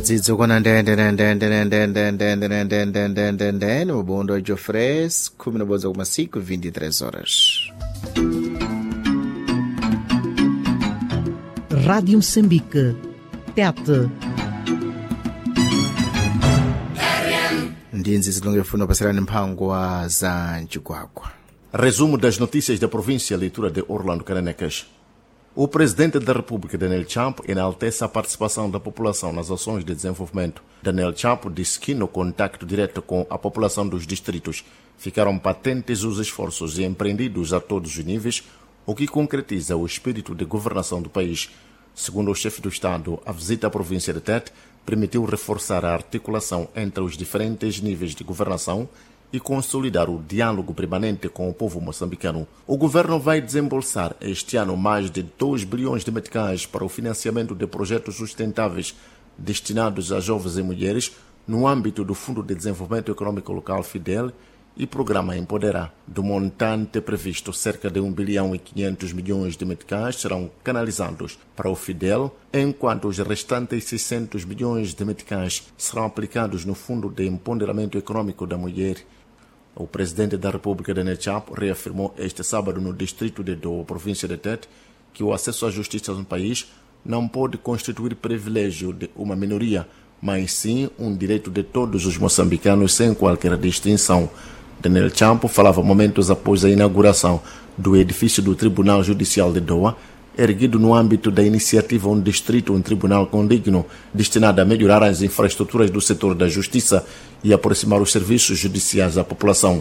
Nzidzukwana ndendendendendendendendendendendendende mubundo Jofres 11,5 23 horas. Rádio Moçambique. Tete. Ndi nzizilonge funa pasirani mphangwa za mchigwagwa. Resumo das notícias da província, leitura de Orlando Carenecas. O presidente da República, Daniel Chapo, enaltece a participação da população nas ações de desenvolvimento. Daniel Chapo disse que, no contacto direto com a população dos distritos, ficaram patentes os esforços empreendidos a todos os níveis, o que concretiza o espírito de governação do país. Segundo o chefe do Estado, a visita à província de Tete permitiu reforçar a articulação entre os diferentes níveis de governação e consolidar o diálogo permanente com o povo moçambicano. O governo vai desembolsar este ano mais de 2 bilhões de meticais para o financiamento de projetos sustentáveis destinados a jovens e mulheres no âmbito do Fundo de Desenvolvimento Econômico Local FIDEL e Programa Empoderar. Do montante previsto, cerca de 1 bilhão e 500 milhões de meticais serão canalizados para o Fidel, enquanto os restantes 600 milhões de meticais serão aplicados no Fundo de Empoderamento Econômico da Mulher. O presidente da República, Daniel Chapo, reafirmou este sábado no distrito de Doa, província de Tete, que o acesso à justiça no país não pode constituir privilégio de uma minoria, mas sim um direito de todos os moçambicanos sem qualquer distinção. Daniel Chapo falava momentos após a inauguração do edifício do Tribunal Judicial de Doa, erguido no âmbito da iniciativa Um Distrito, um Tribunal Condigno, destinada a melhorar as infraestruturas do setor da justiça e aproximar os serviços judiciais à população.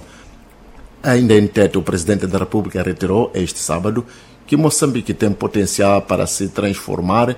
Ainda em Tete, o presidente da República reiterou este sábado que Moçambique tem potencial para se transformar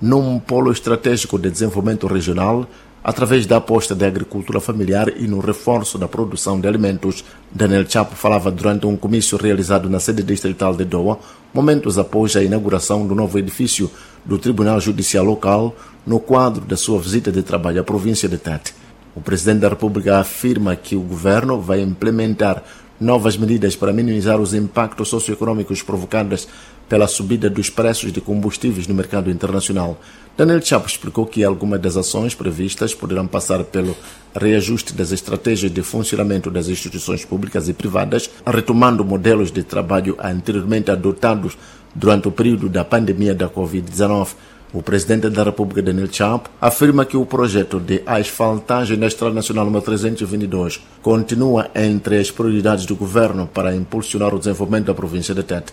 num polo estratégico de desenvolvimento regional através da aposta da agricultura familiar e no reforço da produção de alimentos. Daniel Chapo falava durante um comício realizado na sede distrital de Doha, momentos após a inauguração do novo edifício do Tribunal Judicial Local, no quadro da sua visita de trabalho à província de Tete. O presidente da República afirma que o governo vai implementar novas medidas para minimizar os impactos socioeconômicos provocados pela subida dos preços de combustíveis no mercado internacional. Daniel Chapo explicou que algumas das ações previstas poderão passar pelo reajuste das estratégias de funcionamento das instituições públicas e privadas, retomando modelos de trabalho anteriormente adotados durante o período da pandemia da Covid-19. O presidente da República, Daniel Chapo, afirma que o projeto de asfaltagem da Estrada Nacional número 322 continua entre as prioridades do governo para impulsionar o desenvolvimento da província de Tete.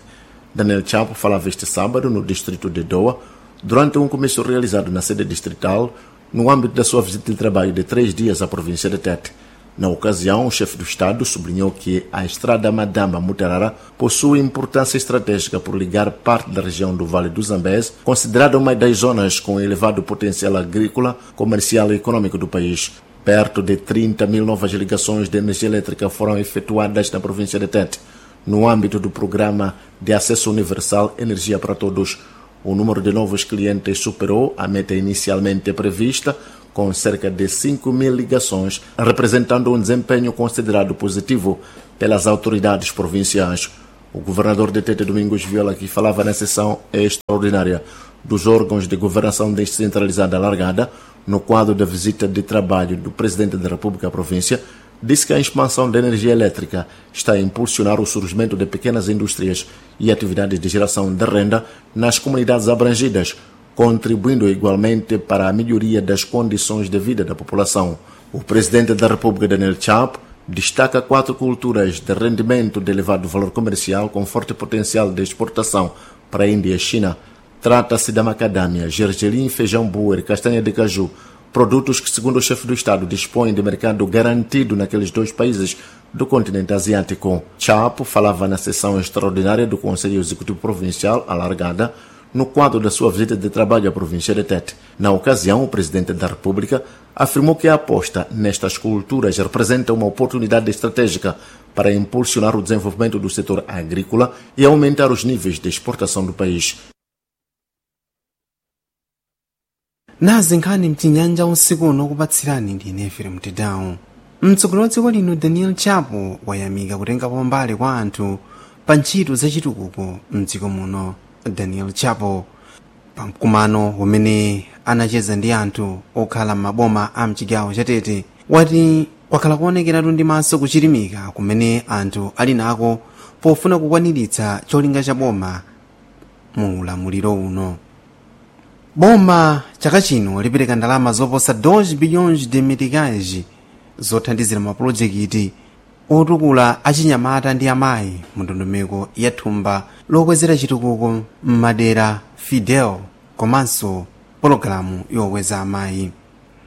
Daniel Chapo falava este sábado no distrito de Doha, durante um comício realizado na sede distrital, no âmbito da sua visita de trabalho de 3 dias à província de Tete. Na ocasião, o chefe do Estado sublinhou que a estrada Madamba-Mutarara possui importância estratégica por ligar parte da região do Vale do Zambeze, considerada uma das zonas com elevado potencial agrícola, comercial e econômico do país. Perto de 30 mil novas ligações de energia elétrica foram efetuadas na província de Tete, no âmbito do programa de acesso universal Energia para Todos. O número de novos clientes superou a meta inicialmente prevista, com cerca de 5 mil ligações, representando um desempenho considerado positivo pelas autoridades provinciais. O governador de Tete, Domingos Viola, que falava na sessão extraordinária dos órgãos de governação descentralizada alargada, no quadro da visita de trabalho do presidente da República à província, disse que a expansão da energia elétrica está a impulsionar o surgimento de pequenas indústrias e atividades de geração de renda nas comunidades abrangidas, contribuindo igualmente para a melhoria das condições de vida da população. O presidente da República, Daniel Chapo, destaca 4 culturas de rendimento de elevado valor comercial com forte potencial de exportação para a Índia e China. Trata-se da macadâmia, gergelim, feijão boer, castanha de caju, produtos que, segundo o chefe do Estado, dispõem de mercado garantido naqueles 2 países do continente asiático. Chapo falava na sessão extraordinária do Conselho Executivo Provincial alargada, no quadro da sua visita de trabalho à província de Tete. Na ocasião, o presidente da República afirmou que a aposta nestas culturas representa uma oportunidade estratégica para impulsionar o desenvolvimento do setor agrícola e aumentar os níveis de exportação do país. Nazi nkhani mchinyanja usiku uno kupatsirani ndi ine Efrem Tedawo. Mtsogoleri wa dziko lino Daniel Chapo wayamika kutengapo mbali kwa anthu pa ntchito zachitukuko mdziko muno. Daniel Chapo pamkumano umene Anacheza ndi anthu okhala m'maboma a mchigawo chatete. Wati kwakhala kuonekeratu ndi maso kuchilimika kumene anthu ali nako pofuna kukwaniritsa cholinga cha boma mu ulamuliro uno. Boma chaka chino lipereka ndalama zoposa 2 bilhões de meticais zothandizira mapulojekiti otukula achinyamata ndi amayi mu ndondomeko ya thumba lokwezera chitukuko m'madera Fidel komanso pologalamu yokweza amayi.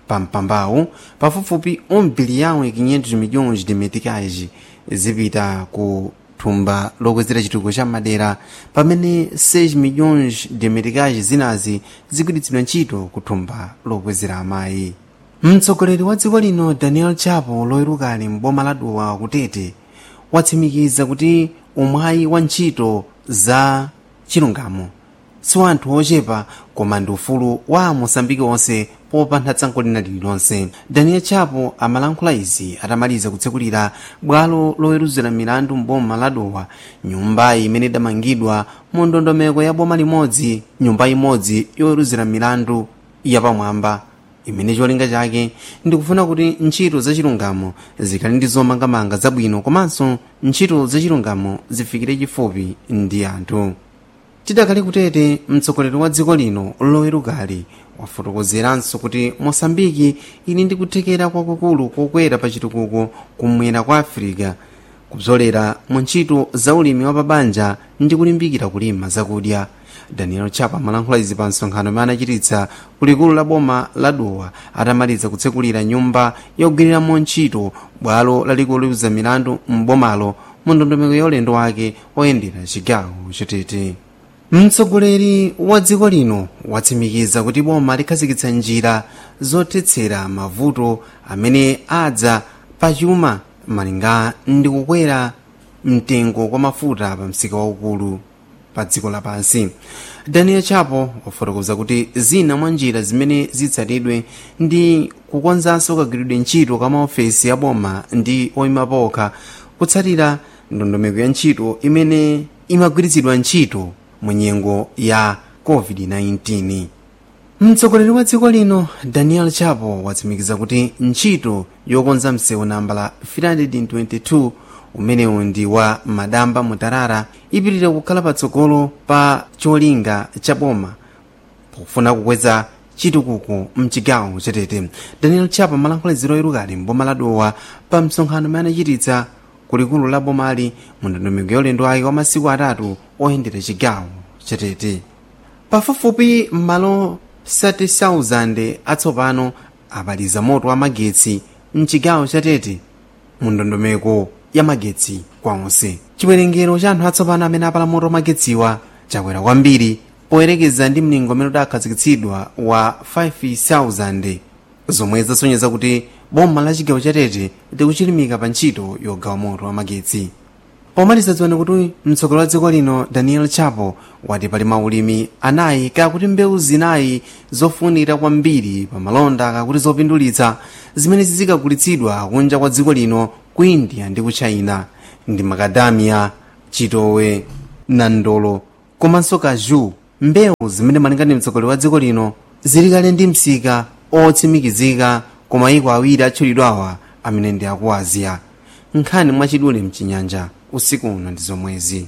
Pampambawu pafupifupi 1 bilhão e 500 milhões de meticais zipita ku thumba lokwezera chitukuko cha madera, pamene 6 milhões de meticais zinazi zigwiritsidwa ntchito ku thumba lokwezera amayi. Mtsogoleri wa dziko lino Daniel Chapo loyerukali m'boma la Dowa kutete watsimikiza kuti umwayi wa ntchito za chilungamo si wa anthu ochepa koma ndi ufulu wa Amosambiki onse popanda tsankho lina lililonse. Daniel Chapo amalankhula izi atamaliza kutsekulira bwalo loweruzira milandu m'boma la Dowa, nyumba imene idamangidwa mu ndondomeko ya boma limodzi nyumba imodzi yoweruzira milandu yapamwamba, imene cholinga chake ndikufuna kuti ntchito zachilungamo zikhale ndi zomangamanga zabwino komanso ntchito zachilungamo zifikire chifupi ndi anthu. Tidakali kutete, mtsogoleri wa dziko lino lowerukali wafotokozeranso kuti Mosambiki ili ndi kuthekera kwakukulu kokwera pa chitukuko kumwera kwa Afirika kupsolera mu ntchito za ulimi wa pabanja ndi kulimbikira kulima zakudya. Daniel Chapo amalankhula izi pa msonkhano umene anachititsa kulikulu la boma la Dowa atamaliza kutsekulira nyumba yogwiriramo ntchito bwalo lalikulu loweruza milandu m'bomalo mu ndondomeko ya ulendo wake oyendera chigawo chatete. Mtsogoleri wa dziko lino watsimikiza kuti boma likhazikitsa njira zothetsera mavuto amene adza pachuma malinga ndi kukwera mtengo kwa mafuta pa msika waukulu pa dziko lapansi. Daniel Chapo wafotokoza kuti zina mwa njira zimene zitsatidwe ndi kukonzanso kagwiridwe ntchito ka maofesi a boma ndi oyima pokha, kutsatira ndondomeko ya ntchito imene imagwiritsidwa ntchito mu nyengo ya COVID-19. Mtsogoleri wa dziko lino Daniel Chapo watsimikiza kuti ntchito yokonza msewu nambala 322 umenewu ndi wa Madamba Mutarara ipitirira kukhala patsogolo pa cholinga cha boma pofuna kukweza chitukuko mchigawo chatete. Daniel Chapo amalankhula ziro irukali mboma la Dowa pa msonkhano umene anachititsa kulikulu la bomali mu ndondomeko ya ulendo wake wa masiku atatu oyendera chigawo chatete. Pafupifupi malo 30,000 atsopano apaliza moto wa magetsi mchigawo chatete mu ndondomeko ya magetsi kwa onse. Chiwerengero cha anthu atsopano amene apala moto wa magetsiwa chakwera kwambiri poyerekeza ndi mlingo umene udakhazikitsidwa wa 5,000, zomwe zasonyeza kuti boma la chigawo chatete likuchilimika pa ntchito yogawa moto wa magetsi. Pomaliza, dziwani kuti mtsogoleri wa dziko lino Daniel Chapo wati pali maulimi anayi kakuti mbewu zinayi zofunikira kwambiri pa malonda kakuti zopindulitsa zimene zizikagulitsidwa kunja kwa dziko lino ku India ndi ku China ndi makadamia, chitowe, nandolo komanso kaju, mbewu zimene malinga ndi mtsogoleri wa dziko lino zili kale ndi msika otsimikizika ku mayiko awiri atchulidwawa amene ndi aku Asia. Nkhani mwachidule mchinyanja usiku uno ndi zomwezi.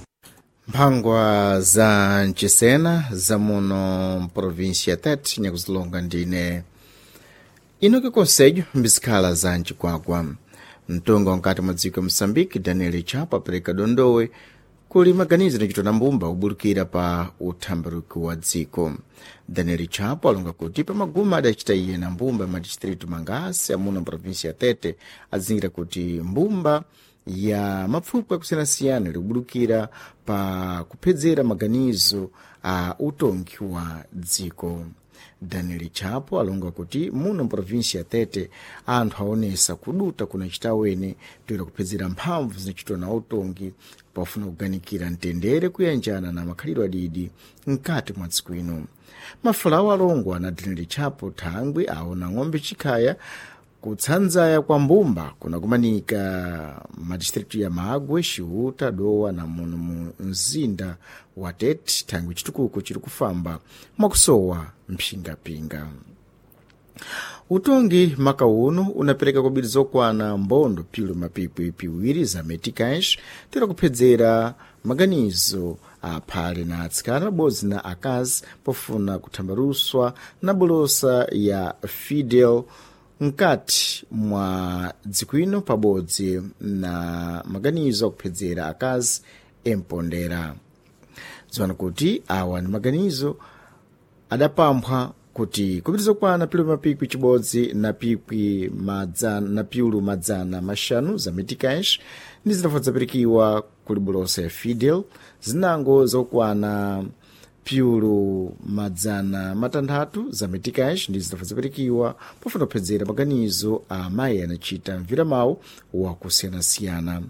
Mphangwa za mchisena zamuno mprovinsia Tete nyakuzilonga ndine inoki konsejo mbizikhala za mchikwakwa. Mtonga wankati mwa dziko ya Moçambique Daniel Chapo apereka dondowe kuli maganizo nachitona mbumba kubulukira pa uthambaruki wa dziko. Daniel Chapo alonga kuti pamaguma adachita iye na mbumba ya madistritu mangasi amuno mprovinsia ya Tete azingira kuti mbumba ya mapfupwi akusiyanasiyana likubulukira pa kuphedzera maganizo a utongi wa dziko. Daniel Chapo alonga kuti muno mprovinsia ya Tete anthu aonesa kuduta kunachita wene toera kuphedzera mphamvu zinachitwa na utongi pofuna kuganikira mtendere kuyanjana na makhalidwe adidi mkati mwa dziko ino. Mafalawo alongwa na Daniel Chapo thangwi aona ng'ombe chikhaya kutsanzaya kwa mbumba kunakumanika madistritu ya Magwe, Xiuta, Dowa na muno mu mzinda wa Tete thangwi chitukuko chiri kufamba mwakusowa mphingapinga. Utongi maka uno unapereka kobiri zokwana mbondo pilo mapipwi piwiri za meticais tera kuphedzera maganizo aphale na atsikana pabodzi na akazi pofuna kuthambaruswa na bolosa ya Fidel mkati mwa dziko ino pabodzi na maganizo akuphedzera akazi empondera. Dziwani kuti awa ni maganizo adapamphwa kuti kupita zokwana pilo mapikwi chibodzi na pikwi madzana na piulu madzana maxanu za meticais ndi zinafa zapirikiwa kuli bolosa ya Fidel zinango zokwana piulu madzana matanthatu za meticais ndi zinafa zapirikiwa pofuna kuphedzera maganizo a amayi anachita mviramawu wakusiyanasiyana.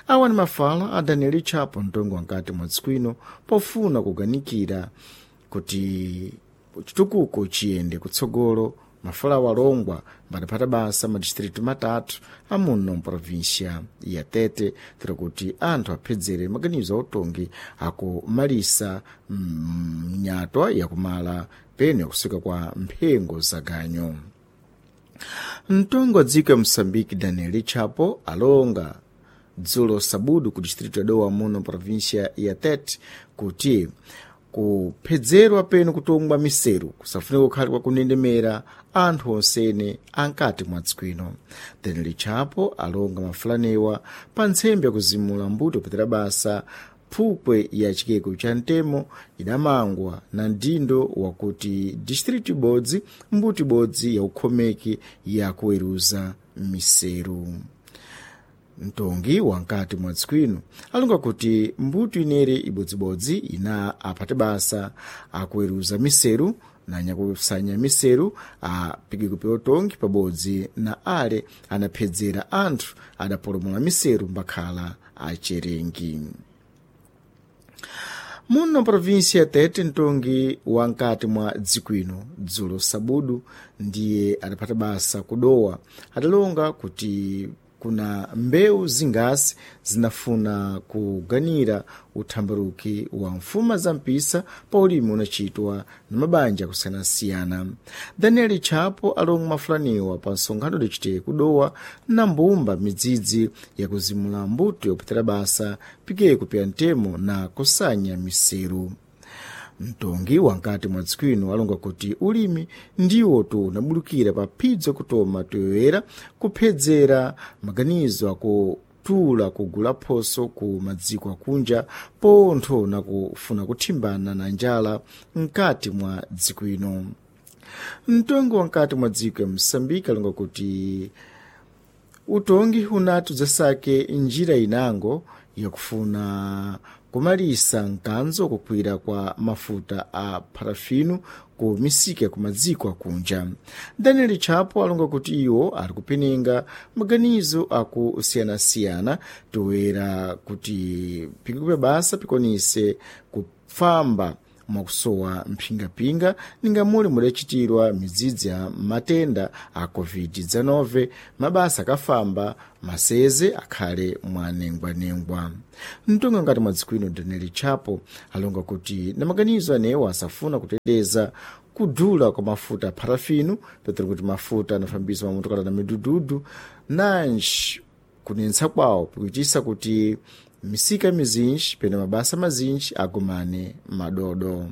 Awa ni mafala a Daniel Chapo mtongo wankati mwa dziko ino pofuna kuganikira kuti chitukuko chiyende kutsogolo. Mafalawo alongwa mbadaphata basa madistritu matatu amuno mprovinsia ya Tete tera kuti anthu aphedzere maganizo autongi akumalisa mnyatwa yakumala peno yakusika kwa mphengo za ganyo. Mtongo wa dziko ya Moçambique Daniel Chapo alonga dzulo sabudu ku distritu ya Dowa muno provinsia ya Tete kuti kuphedzerwa peno kutongwa miseru kusafunika kukhale kwakunendemera anthu onsene ankati mwa dziko ino. Daniel Chapo alonga mafulanewa pa ntsembe yakuzimula mbuto kupetera basa phukwe ya chikeko cha mtemo idamangwa na mdindo wakuti distritu ibodzi mbuto ibodzi ya ukhomeki yakuweruza miseru. Mtongi wankati mwa dziko ino alonga kuti mbuto inere ibodzibodzi ina aphate basa akuweruza miseru na nyakusanya miseru apikikupi otongi pabodzi na ale anaphedzera anthu adapolomula miseru mbakhala acherengi. Muno provinsia ya Tete mtongi wankati mwa dziko ino dzulo sabudu ndiye adaphata basa kudowa adalonga kuti kuna mbewu zingasi zinafuna kuganira uthambaruki wa mfuma za mpisa pa ulimi unachitwa na mabanja akusiyanasiyana. Daniel Chapo alonga mafulaniwa pa nsonkhano udachitike kudowa na mbumba midzidzi yakuzimula mbuto yopetera basa pikeyo kupya mtemo na kusanya miseru. Mtongi wankati mwa dziko ino alonga kuti ulimi ndiwo tu unabulukira pa phidzo kutoma toyoyera kuphedzera maganizo akutula kugula phoso ku madziko akunja pontho na kufuna kuthimbana na njala mkati mwa dziko ino. Mtongi wankati mwa dziko ya Moçambique alonga kuti utongi unati udzasake njira inango yakufuna kumalisa mkanzo kukwira kwa mafuta a parafino ku misika ya kumadziko akunja. Daniel Chapo alonga kuti iwo ali kupenenga maganizo akusiyanasiyana toera kuti pikikupe basa pikonise kufamba mwakusowa mphingapinga ninga muli mudachitirwa midzidzi ya matenda a covid-19 mabasa akafamba maseze akhale mwanengwanengwa. Mtonga ngati mwa dziko ino Daniel Chapo alonga kuti na maganizo anewo asafuna kuteteza kudula kwa mafuta a parafino petero kuti mafuta anafambisa mamotokala na midududu nanji kunenetsa kwawo pikuchisa kuti misika mizinji pena mabasa mazinji agumane madodo.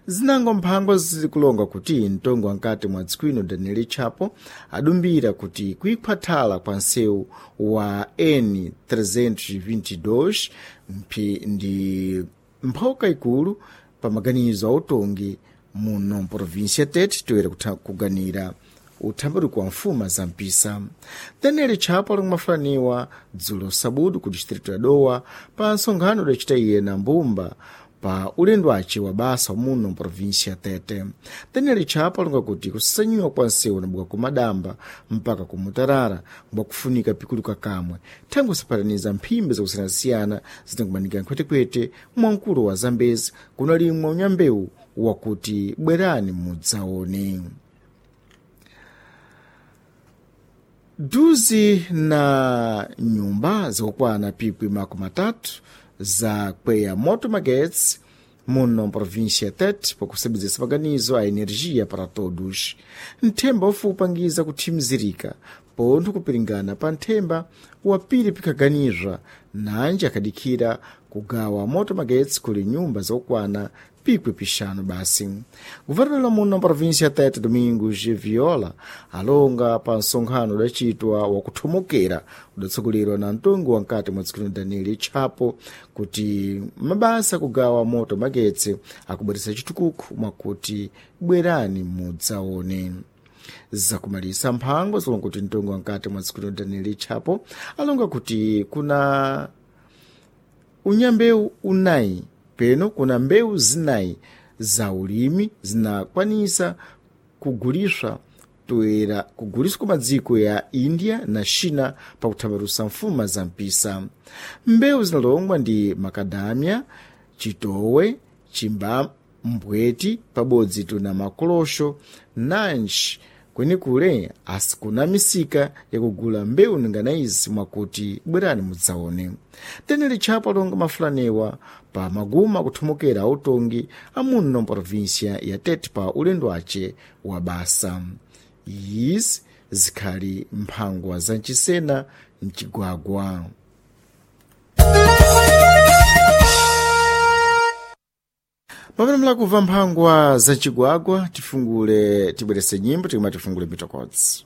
Zinango mphango zikulonga kuti mtongo wankati mwa dziko ino Daniel Chapo adumbira kuti kuikhwathala kwa nsewu wa N322 mphi ndi mphoka ikulu pa maganizo autongi muno mprovinsia Tete toyera kuganira uthambaruko wa mfuma za mpisa. Daniel Chapo ali kumafulaniwa dzulo sabudu ku distritu ya Dowa pa nsonkhano udachita iye na mbumba pa ulendo wace wa basa muno mprovinsia ya Tete. Daniel Chapo alonga kuti kusanyiwa kwa nsewu nabuka kumadamba mpaka kumutarara mbwakufunika pikuluka kamwe thangwe kusapataniza mphimbi zakusiyanasiyana zinakumanika nkhwetekwete mwamkulu wa Zambezi kunalimwa unyambewu wakuti bwerani mudzaone. Duzi na nyumba zikukwana pikwi makumi atatu za kweya moto magetsi Muno província Tete, pakusebenzesa maganizo a energia para todos. Nthemba ufupangiza kuthimizirika pontho kupiringana pa nthemba wapiri pikhaganizwa nanji akhadikhira kugawa moto magetsi kuli nyumba zokwana pikwi pixanu basi. Governador muno província Tete, Domingos Viola, alonga pa nsonkhano udacitwa wakuthomokera udatsogolerwa na mtongi wankati mwa dziko lino Daniel Chapo kuti mabasa kugawa moto magetsi akubweretsa chitukuko mwakuti bwerani mudzaone. Zakumalisa mphango zilonga kuti mtongi wankati mwa dziko lino Daniel Chapo alonga kuti kuna unyambewu unayi peno kuna mbewu zinayi za ulimi zinakwanisa kuguliswa toera kuguliswa ku madziko ya India na China pakuthambalusa mfuma za mpisa. Mbewu zinalongwa ndi makadamia, chitowe, chimbambweti pabodzi tuna makolosho nanji kwenikule asikuna misika yakugula mbewu ningana izi mwakuti bwerani mudzaone. Daniel Chapo alonga mafulanewa pa maguma akuthomokera autongi amuno mprovinsia ya Tete pa ulendo ace wa basa. Izi zikhali mphangwa za mchisena mcigwagwa. Pamene mulakumva mphangwa za mcigwagwa, tifungule tibwerese nyimbo tikumati tifungule mitokodzi.